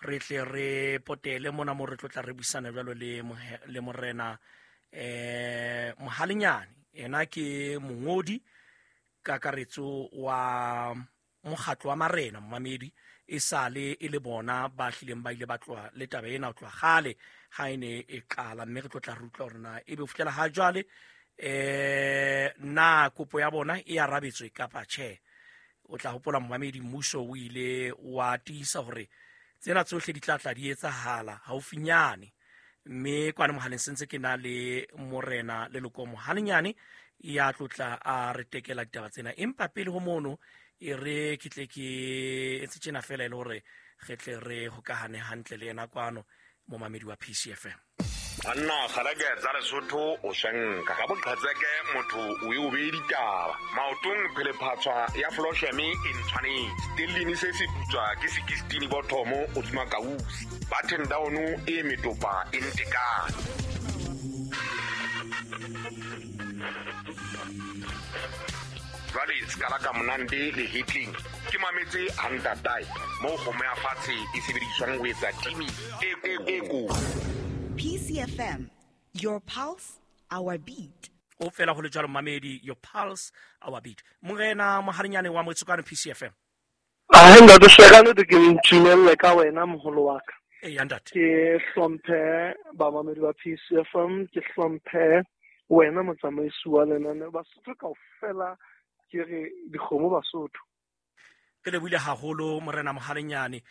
Re tle re potele mona mo re tlotla re buisana jalo le morena Mohalenyane. Ena ke mongodi kakaretso wa mokgatlo wa marena momamedi, e sale e le bona ba hlileng ba ile ba tloha le taba ena ho tloha kgale ha e ne e qala, mme re tlotla re utlwa hore na ebe ho fihlela ha jwale na kopo ya bona e arabetswe kapa tjhe. O tla hopola momamedi, mmuso o ile wa tiisa hore tsena tsohle di tla tla di etsahala haufinyane, mme kwana mohaleng sentse ke na le morena Leloko Mohalenyane ya tlotla a re tekela ditaba tsena. Empa pele ho mono e re ke tle ke etse tjena fela e le hore re tle re hokahane hantle le yena kwano momamedi wa PCFM. Banna kgalake tsa Lesotho o swenka ka boqhetseke motho o e o beye ditaba maotong phelephatshwa ya flosheme e ntshwanetse stellini se se putswa ke 16 bothomo hodima kausi button down e metopa e ntekane. Jwale sekala ka monande le hitling ke mametse hantatae moo kgomo ya fatshe e sebediswang ho etsa timi e ko. PCFM, your pulse, our beat. O fela ho le jwalo mamedi, your pulse, our beat. Morena Mohalenyane wa Motsokwane PCFM. A ntate Shekane ke ntumelle ka wena moholo wa ka. Eh ntate. Ke hlomphe ba mamedi ba PCFM, ke hlomphe wena motsamaisi wa lenaneo Basotho kaofela, ke re dikgomo Basotho. Ke lebohile haholo morena Mohalenyane.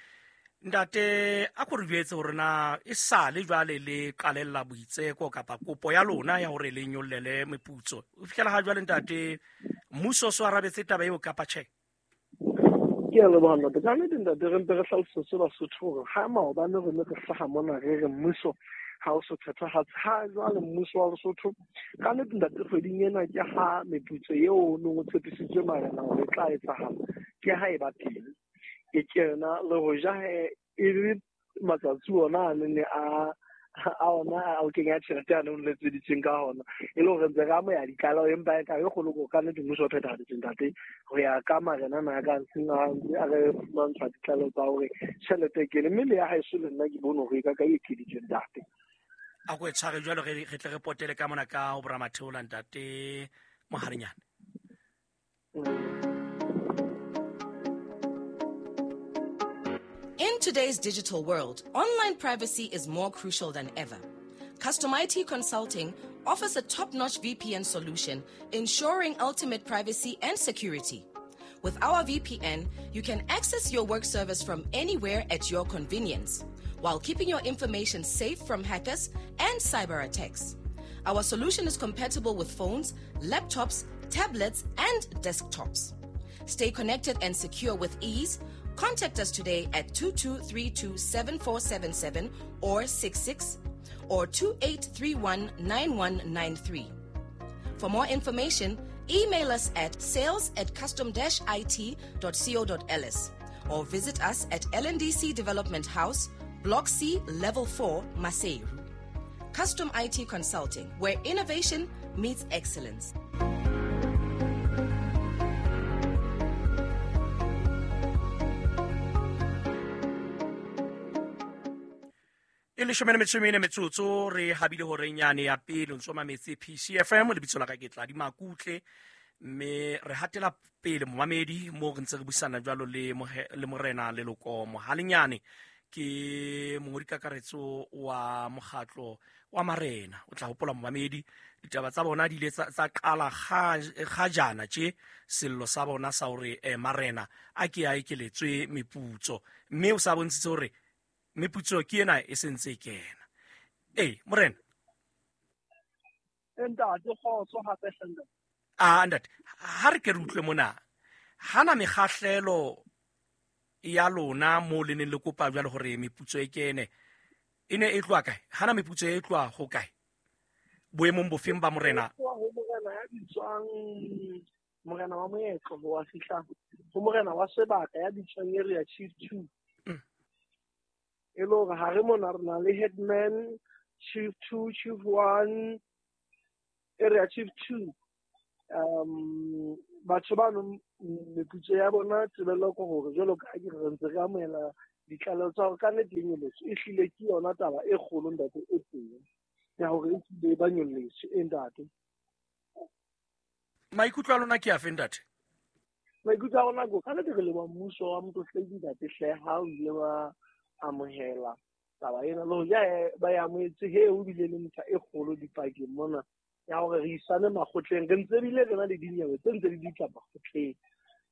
Ntate, a ko re jwetse hore na e sale jwale le qalella boitseko kapa kopo ya lona ya hore le nyollele meputso. O fihlela ha jwale ntate, mmuso o so arabetse taba eo kapa tjhe? Ke a leboha ntate. Ka nnete ntate, re mpe re hlalosetse Basotho hore ha maobane re ne re hlaha mona re re mmuso ha o so phethahatse, ha jwale mmuso wa Lesotho ka nnete ntate kgweding ena ke ha meputso eo o neng o tshepisitswe marena hore e tla etsahala, ke ha e ba teng. E kena le ho ja e le matsatsi ona a ne a ona a o kenya tjhelete a neng letseditseng ka hona, e le hore ntse re amohela ditlaleho, empa e taba e kgolo ke ka nnete mmuso o phethahaditseng ntate ho ya ka marena ana a ka ntseng a re fumantsha ditlaleho tsa hore tjhelete e kene, mme le ya haeso le nna ke bone hore e ka ka e ekeditswe ntate. A ko e tshware jwalo re tle re potele ka mona ka ho Boramatheola ntate Mohalenyane. In today's digital world, online privacy is more crucial than ever. Custom IT Consulting offers a top-notch VPN solution, ensuring ultimate privacy and security. With our VPN, you can access your work service from anywhere at your convenience, while keeping your information safe from hackers and cyber attacks. Our solution is compatible with phones, laptops, tablets, and desktops. Stay connected and secure with ease. Contact us today at 2232-7477 or 66 or 2831-9193. For more information, email us at sales@custom-it.co.ls or visit us at LNDC Development House, Block C, Level 4, Maseru. Custom IT Consulting, where innovation meets excellence. E leshome le metso e mene metsotso re habile hore nyane ya pele ntso mametse PCFM lebitso la ka ke Tladi Makutle, mme re hatela pele momamedi mo re ntse re buisana jwalo le morena Leloko Mohalenyane, ke mongodi kakaretso wa mokgatlo wa marena. O tla hopola momamedi ditaba tsa bona di ile tsa qala kgajana tje sello sa bona sa hore marena a ke a ekeletswe meputso, mme o sa bontshitse hore meputso ke ena e sentse e kena. Ee morena. Ntate kgotso hape hle ntate. Ah ntate, ha re ke re utlwe mona, hana mekgahlelo ya lona mo le neng le kopa jwale hore meputso e kene e ne e tloha kae? Hana meputso e tloha ho kae? Boemong bofeng ba morena? Ho morena ya bitswang morena wa moetlo ho wa fihla ho morena wa sebaka ya bitswang area chief 2. E le hore ha re mona re na le headman, chief 2, chief 1, area chief 2. Batho bano meputso ya bona tsebello ke hore jwalo ka ha ke re ntse re amohela Ditlaleho tsa hore ka nnete e nyolotswe e hlile ke yona taba e kgolo ntate e teng ya hore e hlile ba nyolletswe e ntate. Maikutlo a lona ke afe ntate? Maikutlo a rona ko ka nnete re leboha mmuso wa Motlotlegi ntate hle ha o ile wa amohela taba ena le hoja ba e amohetse he o bile le ntlha e kgolo dipakeng mona ya hore re isane makgotleng re ntse bile re na le dinyewe tse ntse di ditla makgotleng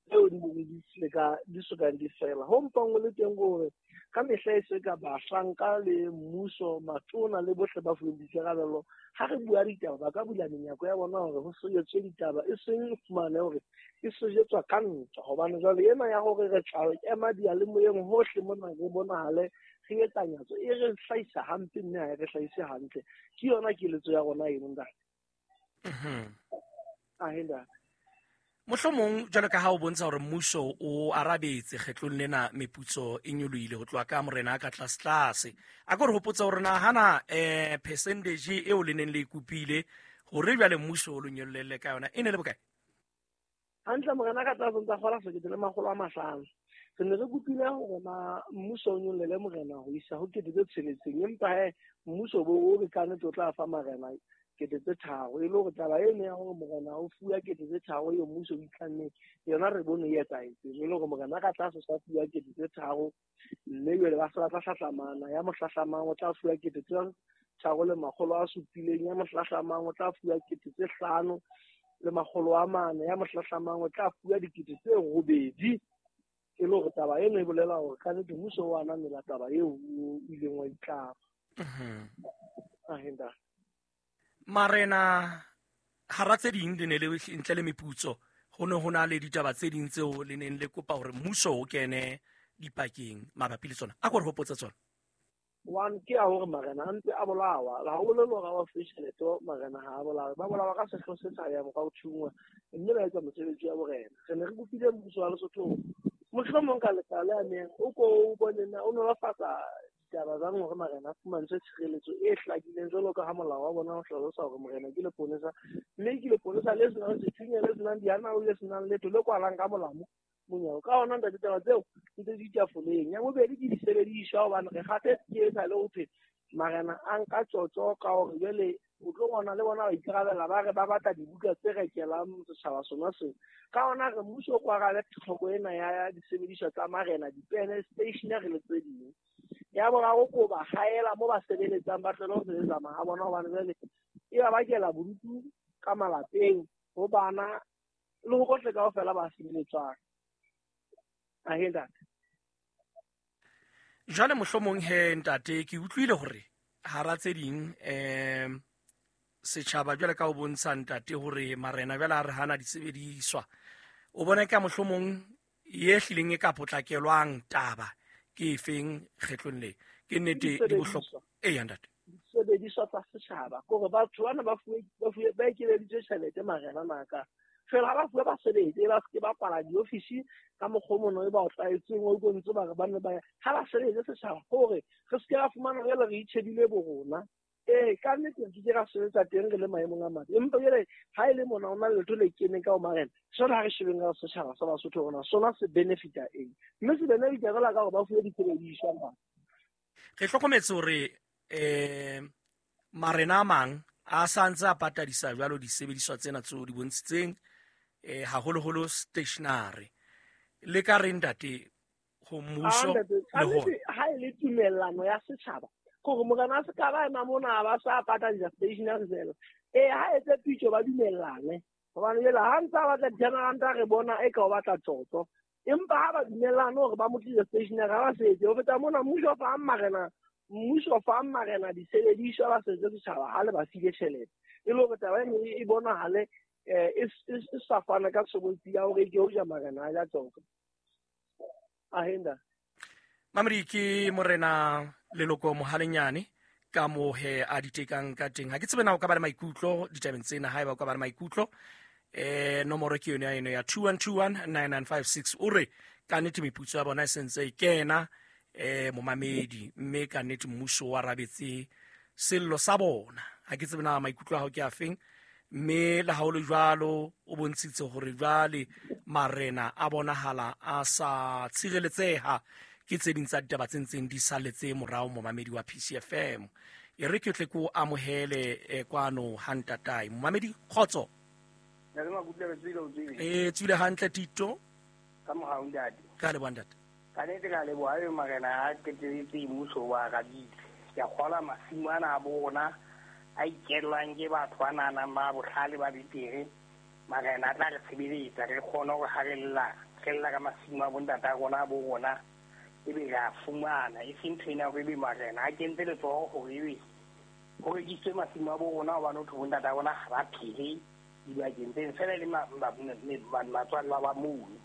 tseo di neng di seka di sokang di fela. Ho mpang ho le teng hore ka mehla e se ka bahlanka le mmuso matona le bohle ba fuweng boikarabelo ha re bua ditaba ba ka bula menyako ya bona hore ho sejetswe ditaba e seng fumane hore e sejetswa ka ntwa hobane jwale ena ya hore re tla ema diyalemoyeng hohle mona re bonahale re etsa nyatso e re hlahisa hampe mme ha e re hlahise hantle. Ke yona keletso ya rona eno ntate. Ahe ntate. Mohlomong jwalo ka ha o bontsha hore mmuso o arabetse kgetlong lena meputso e nyolohile ho tloha ka morena a ka tlase-tlase. A ko re hopotse hore na hana percentage eo le neng le e kopile hore jwale mmuso o lo nyollelle ka yona e ne le bokae? Hantle morena ka tlase ntsa kgola 1500. Re ne re kopile hore na mmuso o nyollele morena ho isa ho 6000 empa he mmuso bo o re ka nnete o tla fa marena 3000 e le hore taba eno ya hore morena o fuwa 3000 eo mmuso o itlanneng yona re bone e etsahetseng e le hore morena ka tlase sa fuwa 3000 mme jwale ba se ba tla hlahlamana ya mohlahlamang o tla fuwa 3700 ya mohlahlamang o tla fuwa 5400 ya mohlahlamang o tla fuwa 8000 e le hore taba eno e bolela hore ka nnete mmuso o ananela taba eo o ileng wa itlama. Ahenda. Marena hara tse ding le ne le ntle le meputso ho ne ho na le ditaba tse ding tseo le neng le kopa hore mmuso o kene dipakeng mabapi le tsona. A ko re hopotse tsona. One ke ya hore marena a ntse a bolawa. Ha ho bolele hore ha ba fuwe tjhelete marena ha a bolawe. Ba bolawa ka sehloho se sa yang ka ho thungwa mme ba etsa mosebetsi wa borena. Re ne re kopile mmuso wa Lesotho mohlomong ka letlalo le amehang o ko o bone na o nolofatsa ditaba tsa hore marena a fumantshwe tshireletso e hlakileng jwalo ka ha molao wa bona o hlalosa hore morena ke leponesa mme ke leponesa le senang sethunya le senang dianao le senang letho le kwalang ka molamo monyako. Ka hona ntate taba tseo ntse di tafoleng. Ya bobedi ke disebediswa hobane re kgathetse ke e sa le ho thwe marena a nka tjotjo ka hore jwale o tlo bona le bona ba ikarabela ba re ba batla dibuka tse rekelang setjhaba sona seo. Ka hona re mmuso o ko arabe tlhoko ena ya disebediswa tsa marena, dipene, stationery le tse ding. Ya boraro ko ba haela mo ba sebeletsang ba tlohele ho sebetsa maha bona hobane jwale e ba bakela bodutu ka malapeng ho bana le ho bohle kaofela ba sebeletswang. Ahe ntate. Jwale mohlomong he ntate ke utlwile hore hara tse ding setjhaba jwale ka o bontsha ntate hore marena jwale a re hana disebediswa. O bona ka mohlomong ye hlileng e ka potlakelwang taba ke efeng kgetlong le? Ke nnete di bohlokwa. Eya ntate. Disebediswa tsa setjhaba kore batho bana ba fuwe ba ekeleditswe tjhelete marena naka. Fela ha ba fuwe ba sebetse ba se ba kwala diofisi ka mokgwa o mono e ba o tlwaetseng o utlwe ba re ba ne ba ha ba sebetse setjhaba hore re se ke ra fumana jwale re itjhebile bo rona. Ka nnete re ke ra sebetsa teng re le maemong a mabe. Empa jwale ha e le mona ho na le letho le keneng ka ho marena sona ha re shebeng ka setjhaba sa Basotho rona sona se benefita eng mme se benefita fela ka hore ba fuwe disebediswa. Re hlokometse hore marena a mang a sa ntse a patadisa jwalo disebediswa tsena tseo di bontshitseng haholoholo stationery. Le ka re ntate ho mmuso le ho ha e le tumellano ya setjhaba hore morena a se ka ba ema mona ba sa patadisa stationery fela. Ha etse pitso ba dumellane hobane jwale ha ntse a batla di-generanta re bona e ka o batla tjotjo empa ha ba dumellane hore ba mo tlise stationery ha ba setse. Ho feta mona mmuso o fa marena mmuso fa marena disebediswa ba setse setjhaba ha le ba file tjhelete e le hore taba eno e bonahale e sa fana ka tshobotsi ya hore ke hoja marena a ja tjotjo. Ahenda. Mamedi ke morena Leloko Mohalenyane ka mohe a ditekang ka teng. Ha ke tsebe na o ka ba le maikutlo ditabeng tsena, haeba o ka ba le maikutlo nomoro ke yone ya eno ya 21219956 o re ka nnete meputso ya bona e sentse e kena momamedi mme ka nnete mmuso o arabetse sello sa bona. Ha ke tsebe na maikutlo a hao ke a feng mme le ha o le jwalo o bontshitse hore jwale marena a bonahala a sa tshireletseha Ke tse ding tsa ditaba tse ntseng di salletse morao momamedi wa PCFM. E re ke tle ko amohele kwano ha ntatae. Momamedi kgotso. E tswile hantle Tito. Ka mohau ntate. Ka leboha ntate. Ka nnete ka leboha e marena a qetelletse mmuso wa arabile. Ke a kgolwa masimo ana a bo rona a ikellwang ke batho ba nahanang ba bohlale ba betere. Marena a tla re tshebeletsa re kgone hore ha re lla ka masimo a bontata a rona a bo rona ebe re a fumana. E seng ntho ena hore ebe marena a kentse letsoho hore ebe ho rekisitswe masimo a bo rona hobane ho thwe bontata a rona ha ba phele dibakeng tseno fela le matswalla ba mono.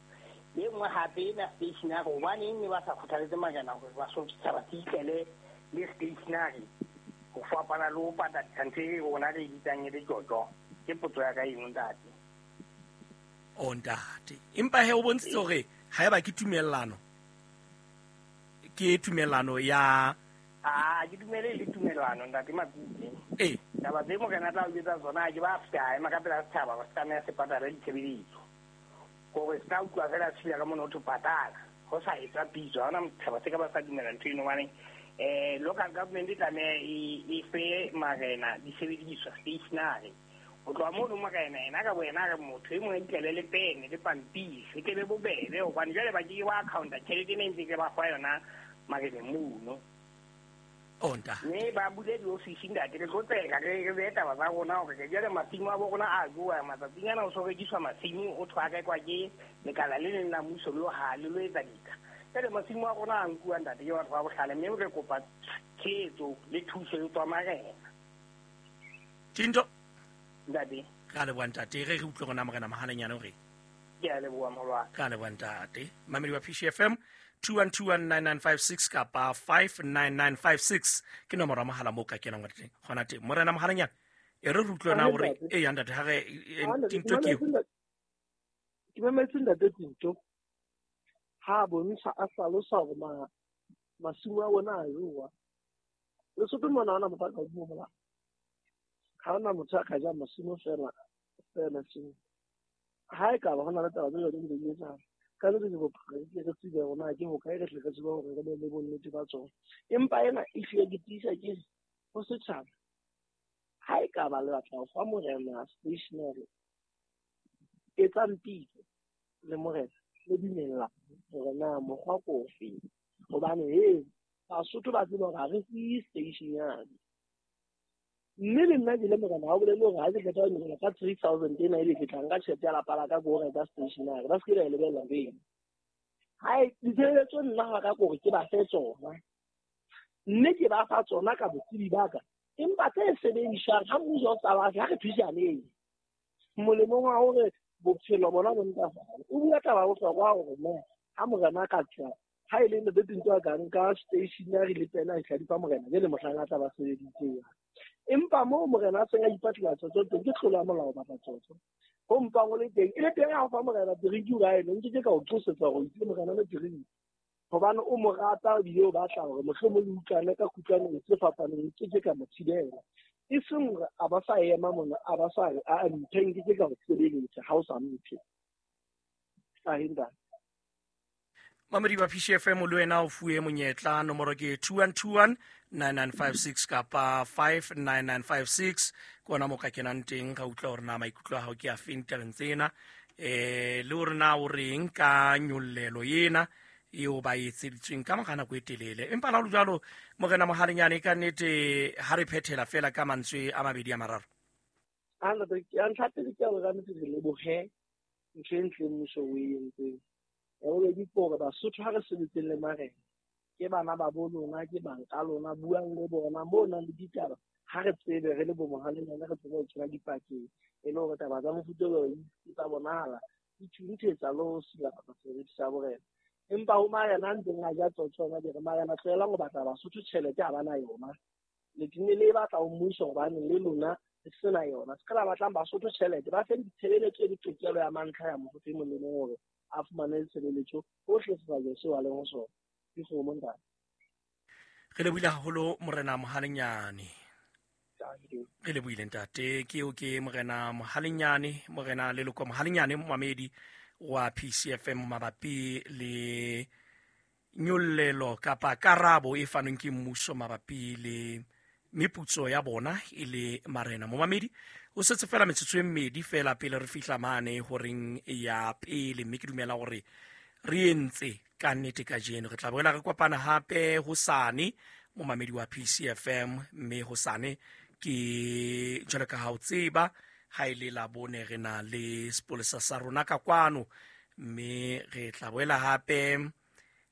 E nngwe hape ena stationary, hobaneng ne ba sa kgothaletse marena hore ba so setjhaba se itlele le stationary ho fapana le ho patadisa ntho e rona re e bitsang e le tjotjo? Ke potso ya ka eno ntate. O ntate, empa he o bontshitse hore haeba ke tumellano, ke tumellano ya Ah, ke dumele le tumellano ntate Makutle. Eh. Taba tse morena tla o etsa tsona ke ba feta ema ka pela setjhaba ba tlameha se patale ditshebeletso. Hore se ka utlwa fela se ka mona ho thwe patala. Ho sa etsa pitso, ha hona setjhaba se ka ba sa dumela ntho eno hobane local government e tlameha e fe marena disebediswa stationary. Ho tloha mono morena ena ka boyena re motho e mong a itlele le pene le pampiri e tle be bobebe hobane jwale ba ke ke ba accounta tjhelete ena e ntse ke ba fa yona mareneng mono. O ntate. Mme ba bule diofisi ntate, re tlo tseka re behe taba tsa rona hore re jwale masimo a bo rona a jowa matsatsing ana o so rekiswa masimo o thwe a rekwa ke lekala le leng la mmuso le ha le lo etsa dika. Jwale masimo a rona a nkuwa ntate ke batho ba bohlale mme re kopa tshehetso le thuso e tswa marena. Tinto. Ntate. Ka leboha ntate, re utlwe rona morena Mohalenyane hore. Ke a leboha molwana. Ka leboha ntate. Mamedi wa PCFM 21219956 kapa 59956 ke nomoro ya mohala moo ka kenang gona teng. Morena Mohalenyane, e re re utlwe na hore e ya ntate ha re Tinto ke eo. Ke mametse ntate Tinto ha bontsha a hlalosa hore masimo a bona a jowa. Lesotho mona hona motho a ka hodimo mola. Ha hona motho a ka jang masimo fela fela seng. Ha e ka ba hona le taba tse jwalo di etsahala. Ka le re bophelo ke re tsebe hore na ke hokae re tle re tsebe hore re be le bonnete ba tsona. Empa ena e hlile ke tiisa ke ho setjhaba. Ha e ka ba le batla ho fa morena stationary, etsang pitso le morena le dumella hore na mokgwa ke ofe. Hobane he Basotho ba tseba hore ha re fiwe stationary. Mme le nna ke le morena ha o bolele hore ha ke qeta ho nyoloha ka 3000 ena ebe ke tla nka tjhelete ya lapa la ka ke ho reka stationary. Ba se ke ba e lebella pele. Hai, ditshebeletso nna ha ka kore ke ba fe tsona. Mme ke ba fa tsona ka botsebi ba ka. Empa tse sebediswang ha mmuso o sa batle, ha re thusaneng. Molemong wa hore bophelo bona bo ntlafale. O bua taba ya bohlokwa hore na ha morena a ka tswa, ha e le ntate Tinto a ka nka stationary le pena a di fa morena, jwale mohlang a tla ba sebeditseng. Empa moo morena a seng a ipatlela tsotso teng, ke tlolo ya molao batla tsotso. Ho mpang o le teng, e le teng ha o fa morena drink o ae, nke ke ka o qosetsa hore o itse morena le drink. Hobane o mo rata ebile o batla hore mohlomong le utlwane ka kutlwano tse fapaneng, nke ke ka mo thibela. E seng hore a ba sa ema mona, a ba sa re, a mphe, nke ke ka o sebeletsa ha o sa mphe. Ahinda. Mamedi wa PCFM le wena o fuwe monyetla, nomoro ke 21219956 kapa 59956. Ke ona moo ka kenang teng ra utlwa hore na maikutlo a hao ke a feng tabeng tsena. Le hore na o reng ka nyollelo ena eo ba etseditsweng ka mora nako e telele. Empa le ha ho le jwalo, morena Mohalenyane, ka nnete ha re phethela fela ka mantswe a mabedi a mararo. A ntate, ya ntlha pele ke hore ka nnete re lebohe ntho e ntle mmuso o e entseng. Ya bobedi ke hore Basotho ha re sebetseng le marena, ke bana ba bo lona, ke bang ka lona, buang le bona moo nang le ditaba. Ha re tsebe re le bo Mohalenyane, re tsebe ho kena dipakeng e le hore taba tsa mofuta o di tsa bonahala di thunthetsa le ho silafatsa seriti sa borena. Empa ho marena a ntseng a ja tsotso ona, ke re marena tlohelang ho batla Basotho tjhelete ha ba na yona. Le tenne le e batla ho mmuso hobane le lona le sena yona. Se ka la batlang Basotho tjhelete, ba feng ditshebeletso e le tokelo ya mantlha ya motho e mong le mong hore a fumane tshebeletso hohle sebakeng seo a leng ho sona. Ke kgomo ntate. Re lebohile haholo morena Mohalenyane. Re lebohile ntate. Ke eo ke morena Mohalenyane, morena Leloko Mohalenyane, momamedi wa PCFM mabapi le Nyollelo kapa karabo e fanweng ke mmuso mabapi le meputso ya bona e le marena. Momamedi o setse fela metsotso e mmedi fela pele re fihla mane horeng ya pele, mme ke dumela gore re entse ka nnete kajeno. Re tla boela re kopana hape hosane, momamedi wa PCFM, mme hosane ke jwalo ka ha o tseba ha e le Labone re na le sepolesa sa rona ka kwano, mme re tla boela hape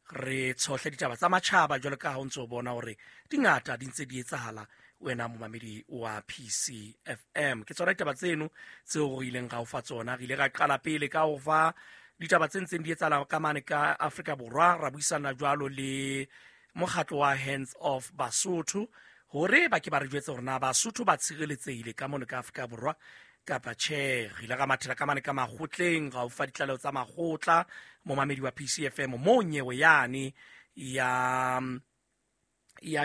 re tshohle ditaba tsa matjhaba jwalo ka ha o ntse o bona hore di ngata di ntse di etsahala wena momamedi wa PCFM. Ke tsona ditaba tseno tseo re ileng ra o fa tsona. Re ile ra qala pele ka ho fa ditaba tse ntseng di etsahala ka mane ka Afrika Borwa, ra buisana jwalo le mokgatlo wa Hands Off Basotho hore ba ke ba re jwetse hore na Basotho ba tshireletsehile ka mono ka Afrika Borwa kapa tjhe. Re ile ra mathela ka mane ka makgotleng, ra o fa ditlaleho tsa makgotla momamedi wa PCFM, moo nyewe yane ya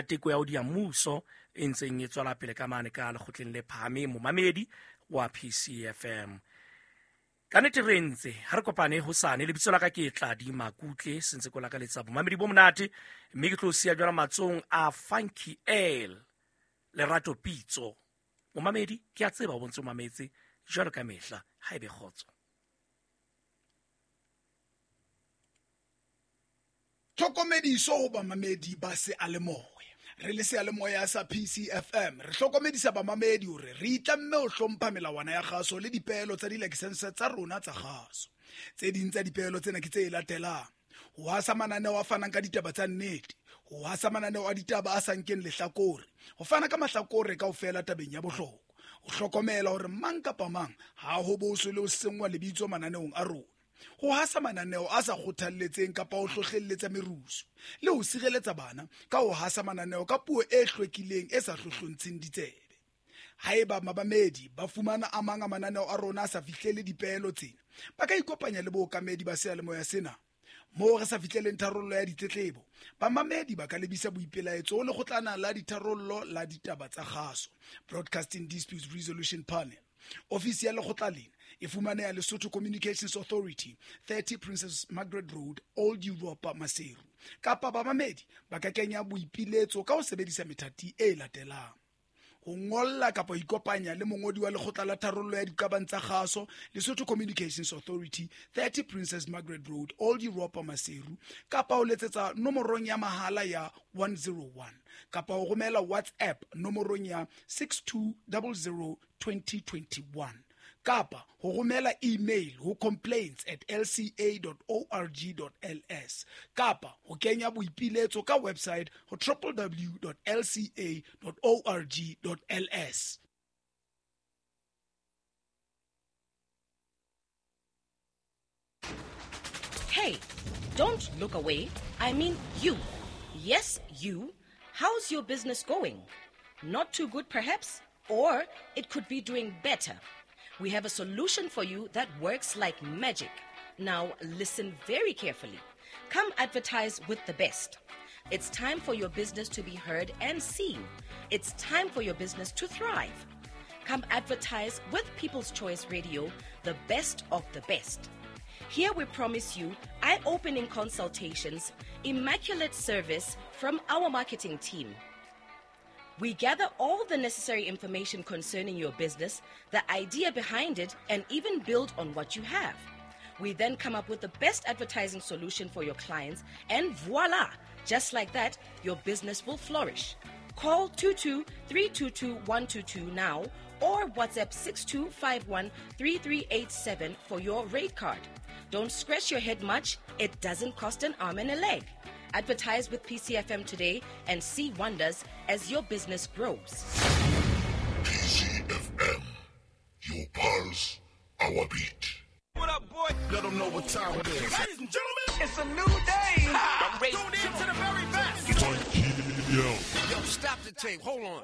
teko ya ho diya mmuso e ntseng e tswela pele ka mane ka lekgotleng le phahameng, momamedi wa PCFM. Ka nnete re ntse ha re kopane hosane. Lebitso la ka ke Tladi Makutle, sentse ko lakaletsa bomamedi bo monate, mme ke tlo siya jwala matsong a Funky L Lerato Pitso. Momamedi, ke a tseba o bontse o mametse jwalo ka mehla, ha ebe kgotso. Tlhokomediso ho bamamedi ba seyalemoya. Re le seyalemoya sa PCFM re hlokomedisa bamamedi hore re itlamme ho hlompha melawana ya kgaso le dipeelo tsa dilakesense tsa rona tsa kgaso. Tse ding tsa dipeelo tsena ke tse latelang: ho hasa mananeo a fanang ka ditaba tsa nnete, ho hasa mananeo a ditaba a sa nkeng lehlakore, ho fana ka mahlakore kaofela tabeng ya bohlokwa, ho hlokomela hore mang kapa mang ha ho boswe le ho senngwa lebitso mananeong a rona, ho hasa mananeo a sa kgothalletseng kapa ho hlohlelletsa merusu, le ho sireletsa bana ka ho hasa mananeo ka puo e hlwekileng e sa hlohlontsheng ditsebe. Haeba mabamedi ba fumana a mang a mananeo a rona a sa fihlele dipeelo tsena, ba ka ikopanya le bookamedi ba seyalemoya sena. Moo re sa fihleleng tharollo ya ditletlebo, bamamedi ba ka lebisa boipelaetso ho lekgotlana la ditharollo la ditaba tsa kgaso, Broadcasting Disputes Resolution Panel. Ofisi ya lekgotla lena e fumaneha Lesotho Communications Authority, 30 Princess Margaret Road, Old Europa, Maseru. Kapa bamamedi ba ka kenya boipiletso ka ho sebedisa methati e latelang: ho ngolla kapa ho ikopanya le mongodi wa lekgotla la tharollo ya diqabang tsa kgaso, Lesotho Communications Authority, 30 Princess Margaret Road, Old Europa, Maseru, kapa ho letsetsa nomorong ya mahala ya 101, kapa ho romela WhatsApp nomorong ya 6200 2021, kapa ho romela email ho complaints@lca.org.ls, kapa ho kenya boipiletso ka website ho www.lca.org.ls. Hey, don't look away. I mean you. Yes, you. How's your business going? Not too good, perhaps? Or it could be doing better. We have a solution for you that works like magic. Now listen very carefully. Come advertise with the best. It's time for your business to be heard and seen. It's time for your business to thrive. Come advertise with People's Choice Radio, the best of the best. Here we promise you eye-opening consultations, immaculate service from our marketing team. We gather all the necessary information concerning your business, the idea behind it, and even build on what you have. We then come up with the best advertising solution for your clients, and voila! Just like that, your business will flourish. Call 22-322-122 now or WhatsApp 6251-3387 for your rate card. Don't scratch your head much. It doesn't cost an arm and a leg. Advertise with PCFM today and see wonders as your business grows. PCFM, your pulse, our beat. What up, boy? Let them know what time it is. Ladies and gentlemen, it's a new day. I'm tuned in to the very best. Yo, stop the tape. Hold on.